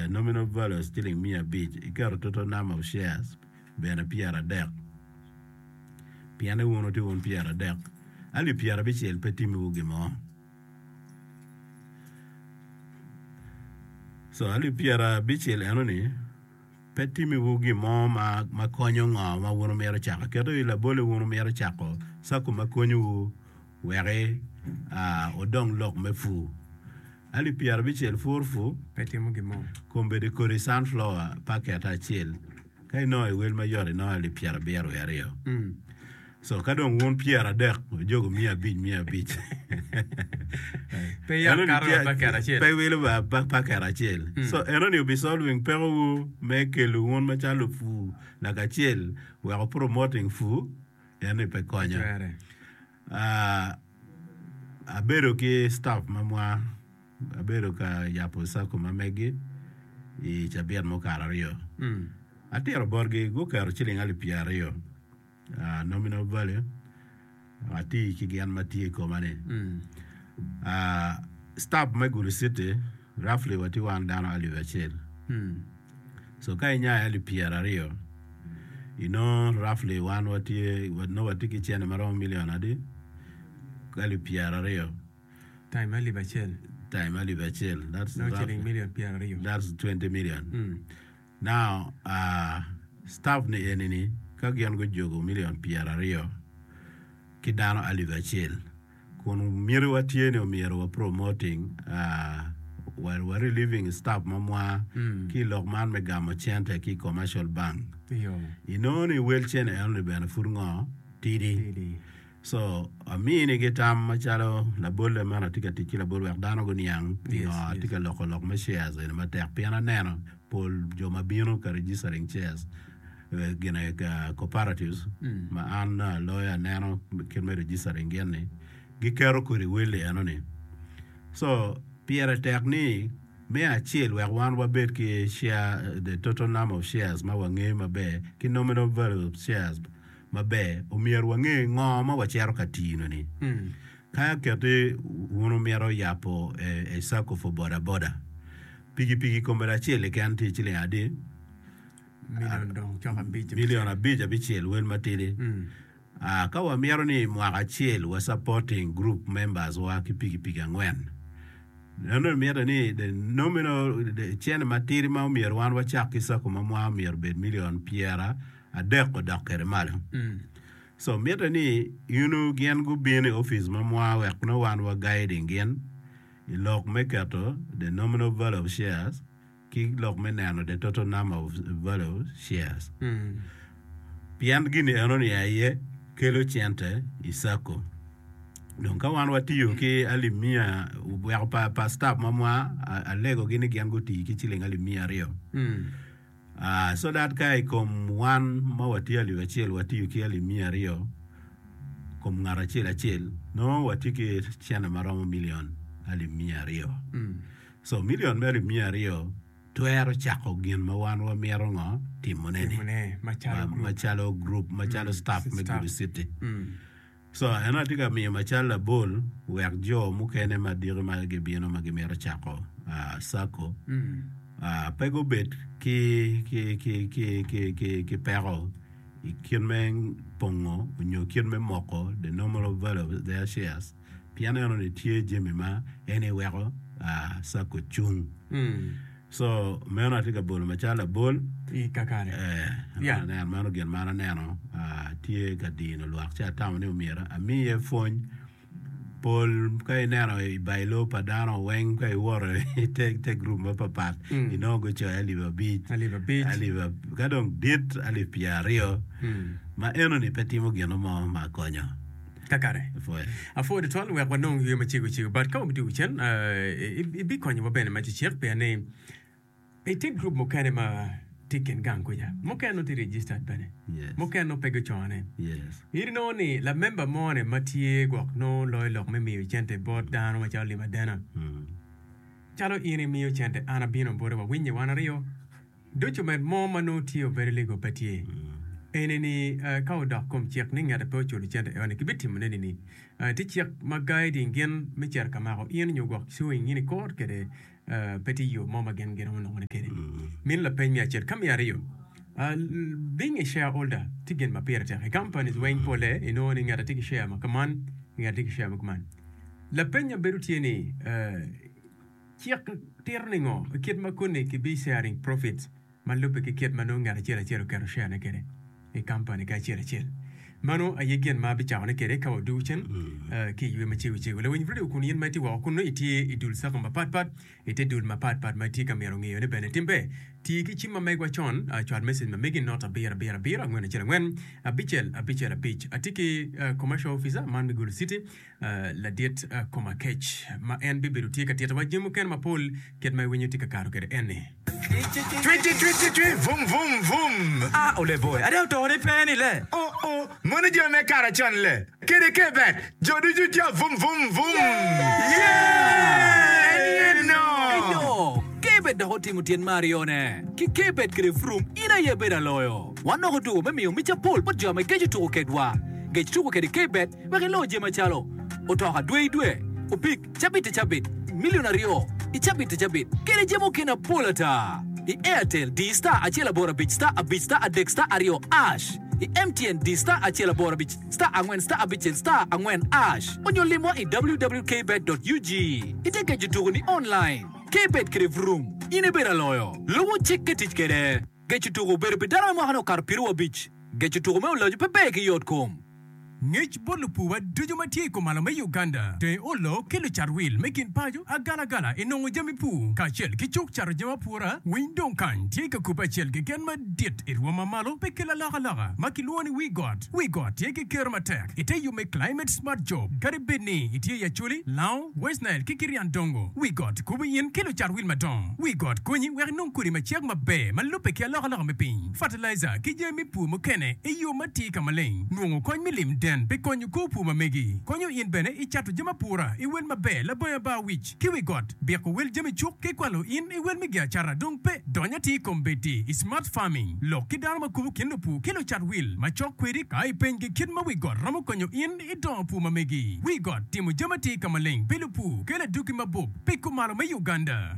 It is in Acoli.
Nominal value ciling 500, iketo total number of shares bene 30. Pien ni wun wutye wun 30, alip 70 pe timiwu gin mo. So alip 70 enoni pe timiwu gin mo ma konyo ngo ma wun wumito cako. Keto i labole wun wumito cako cako ma konyowu wek wudong lok me pur. Alip 70 pur pur Pe timo gin mo. Kombeddi kodi sunflower paket acel ka inongo i wel mayot inongo alip 72. So ka dong wun 30 wujogo 500 500. Pe yot kato wa paket acel. Pe wilo wa paket acel. So enoni obi solving pekowu me kelo wun macalo lupur lakacel wek wu promoting pur enoni pe konyo. Twere. Ah, abedo ki staff ma mwa abedo ka yabo cako ma megi i cabit mukato aryo. Atito botgi guketo ciling alip 20 ah, nominal value ati ki gin ma tye i koma ni. Ah, staff me Gulu City roughly watye wan dano 1000. So ka inyayo alip 20 inongo roughly wan watye nongo watye ki cene maromo million adi? Alip 20. Time alip acel. Time alip acel. That's Nongo roughly ciling million 20. that's 20 million. Now uh, staff ni eni ni ka gin gujogo million 20 ki dano alip acel kun mitiwa tye ni omyero wa promoting uh, wa, wa relieving staff ma mwa ki i lok man me gamo cente ki i commercial bank. Iyo. Inongo ni wel cene enoni bene pud ngo tidi. Tidi. So aminigi tam macalo labolle man atye ka tic ki labol wek dano guniang pingo Yes, atye yes. ka loko lok me shares eni matek pien aneno pol jo ma bino ka registering shares eh, gine ka cooperatives ma an aloyo aneno kit me registering gin ni giketo kodi welli enoni. So pire tek ni me acel wek wan wabed ki share the total number of shares ma wangeyo maber ki nominal value of shares maber, omyero wange ngo ma wacito ka tino-ni. Ka keti wun wumito yabo a circle for boda boda, pikipiki kome acel keken tye ciling adi? Milion dong cok abic. Milion abic abicel wel matidi. Ka wamito ni mwaka acel wa supporting group members wa ki pikipiki angwen, eno mitte ni the nominal cene matidi ma omyero wan wacak ki circle ma mwa omyero obed milion pyera adek odok kwede malo. So mitte ni inu gin gubin i opic ma mwa wek nongo wan wa guiding gin i lok me keto the nominal value of shares ki lok me neno the total number of value of shares. Pien gini eno ni aye kelo cente i sacco. Dong ka wan watiyo ki alip miya weko pa, pa staff ma mwa alego gi ni gin guti ki ciling alip 200. So that ka i kom wan ma watye alip acel watiyo ki alip 200 kom ngat acel acel nongo watye ki cene ma romo million alip 200. So million me alip 200 twero cako gin ma wan wamito ngo timone ni macalo group macalo staff me Gulu City. So en atye ka miyo macalo labol wek jo mukene ma diki ma gibino ma gimito cako sacco pe gubed ki ki peko i kit me pongo nyo kit me moko the normal value of their shares pien enoni tye jami ma en aye weko sacco cung. So meno atye ka bolo macalo labol. I kakare. Eh, Yeah. aneno, meno gin ma an aneno ah, tye ka dino lwak ci atamo ni omyero amiye pwony. Pol ka ineno i bailo pa dano weng ka iwoto i te, te grup mapapat Mm. inongo gucoyo 5000, 5000. alip ab- ka dong dit 20,000 Mm. ma enoni pe timo gin mo ma konyo. Kakare. Apwoyo. Apwoyo tutwal wek wanong yweyo macego cego. But ka wabidwogo cen, eh, ibikonyowa bene ma cecek pien ni itye group mukene ma tye i kin gang kuca. Mukene nongo tye registered bene. Yes. Mukene nongo pe gucone. Yes. In inongo ni lamemba moni ma tye gwok nongo loyo lok me miyo cente bot dano macalo lim adena. Mm. Calo in imiyo cente an abino boti wawinye wan aryo. Document mo ma nongo tye obedo legal pe tye. Eni ni ka odok kom cik ni ngete pe oculo cente eno ni kibitimone nini? Tye cik ma guiding gin me cito ka mako in nyo gwok suing in i court kede. Pe tye yo mo ma gin giromo nongone kwede. Mino lapeny me acel. Ka me aryo, being a shareholder tye gin ma pire tek. I companies weng pole inongo ni ngat tye ki share ma kaman, ngat tye ki share ma kuman. Lapenya bedo tye ni, cik tito ni ngo i kit ma koni ki bi sharing profits ma lubbe ki kit ma nongo ngat acel acel oketo share ne kwede i company ki acel acel. Mano aye gin ma abicako ne kwede ka wadugo cen ki i ywe macego cego. Lawiny radio kun in ma itye woko kun nongo itye i dul sacco mapat pat, i te dul mapat pat ma itye ka mito ngeyo ne bene tim ber. Ti ki cim ma megwa con, cwal message ma megi not abiro abiro abiro angwen acel angwen abicel abicel abic. Atye ki commercial officer man me Gulu City Ladit Komakec ma en bibedo tye ka titowa jami mukene mapol kit ma iwinyo tye ka kato kwede en-ni. Cwi ci cwi ci cwi vum vum vum. Ah ole boy, ada oto ni pe ni le. Oh oh, mono jami me kare con le. Kede ke bet, jo ducu tye vum vum vum. Yeah! En ye no. Eyo, Kebet dok otimo tyen me aryone. Ki Kebet kede Vroom, in aye ibedo aloyo. Wan dok otuko me miyo mic apol bot jo ma geco tuko kedwa. Gec tuko kede Kebet wek ilo jami macalo, otoka dwe i dwe, opik cabit i cabit, milion aryo i cabit i cabit, kede jami mukene mapol ata. I Airtel, di star acel aboro abic star abic star adek star aryo ash. I MTN, di star acel aboro abic star angwen star abicel star angwen ash. Onyo limwa i www.kbet.ug. Ite geco tuko ni online. Kbet kede Vroom, in ibedo aloyo. Lubo cik ki tic kede. Geco tuko obedo pi dano ma mwakane okato pyerabicc. Geco tuko me oloco pe ber ki yot kom. Ngec bot lupuwa ducu ma tye i kumalo me Uganda, dong iolo ki lucat wil me kin paco, agalagala i nongo jami pur kacel ki cuk cato jami apura. Winy dong kany tye ka kubbe acel keken madit i rwom ma malo pi kelo alokaloka ma kilwongo ni wi got. Wi got tye ki kero matek ite yub me Climate Smart Job kadi bed ni itye i Acholi, Lango, West Nile ki Kirian Dongo. Wi got kubo in ki lucat wil madongo. Wi got konyi wek inong kodi macek maber ma lubbe ki alokaloka me piny, fertilizer ki jami me pur mukene i yo matir ka maleng. Nongo kony me lim den pi konyo kor pur ma megi. Konyo in bene i cato jami apura i wel maber labongo abar wic ki wi got. Biko wel jami cuk ki kwalo in i wel me gi acata dong pe. Dony atir kombeddi i Smart Farming. Lok ki dano ma kubo kin lupur ki lucat wil ma cok kwedi ka ipenygi kit ma wi got romo konyo in i dongo pur ma megi. Wi got timo jami atir ka maleng pi lupur kelo adwogi mabup pi kumalo me Uganda.